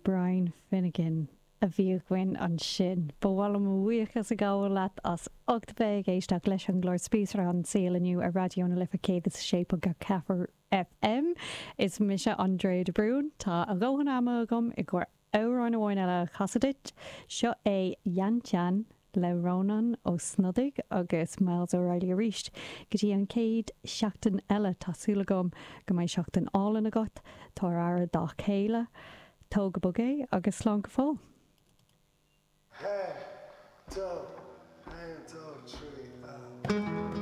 Brian Finnegan a bhí againn ansin. Ba mhaith liom mo bhuíochas a ghabháil leat as ucht bheith ag éisteacht leis an gclár Spíosra an tSaoil inniu ar Raidió na Life 106.4 FM. Is mise Andrea de Brún. Tá a dhóthain ama agam i gcomhair amhrán amháin eile a chasadh duit. Seo é Yan-Chan le Rónán Ó Snodaigh agus Myles O'Reilly arís. Go dtí an chéad seachtain eile, tá súil agam go mbeidh seachtain álainn agat. Tabhair aire dá chéile. Tóg go bog é agus slán go fóill. Haon, dó, haon, dó, trí, a.